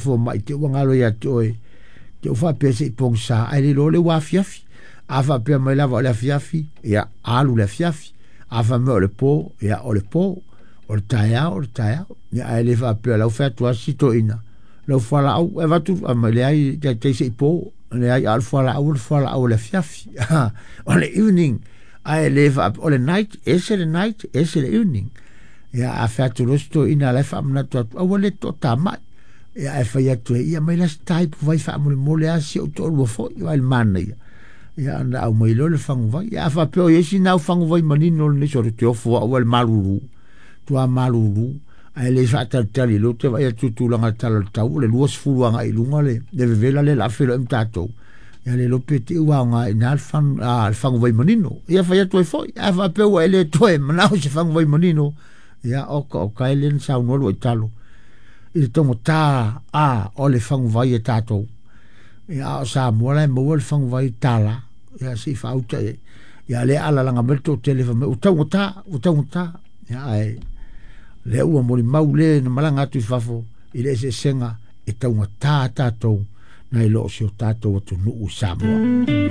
fomai te ua galo ia te oe te u faapea se i pogisa ae le iloa le ua afiafi. A faapea mai lava o le afiafi, ia alu le afiafi. A fai mai o le po, ia o le po. O le taeao, o le taeao. Ia ae le faapea lau fai atu asi toeaina lau fualaau e avatu mai leai taitai se i po. Leai, a o le fualaau o le fualaau o le afiafi. O le evening ae le faapea o le night, ese le night, ese le evening. Ia a fai atu loa si toeaina la e faamanatu atu aua le toatamai. Ia ae fai atu e ia mai la se taipu vai faamolemole a si ou toalua foi vai le manaia. Ia ona aumai loa le faguvai. Ia a faapea o i ai sina au faguvai manino lenei solo te ofo au le malulu. Tua malulu ae le faatalitali lea ou te vaai atu i tulaga tala o le tau o le 20 agai i luga le vevela lea o le a feiloai ma tatou. Ia le iloa pe te i ua aoga i ina le faguvai manino. Ia fai atu ai foi, a faapea ua e le toe manao i se faguvai manino, ia oka oka e le na saunoa lua italo i le taugata a o le faguvai e tatou. Ia a o Samoa la e maua le faguvai tala, ia se i faauta i ai. Ia lea alalaga mai le toatele fai mai ua taugata, ua taugata. Ia ae lea ua molimau le na malaga atu i fafo i le eseesega e taugata tatou nai lo o si o tatou atunuu i Samoa.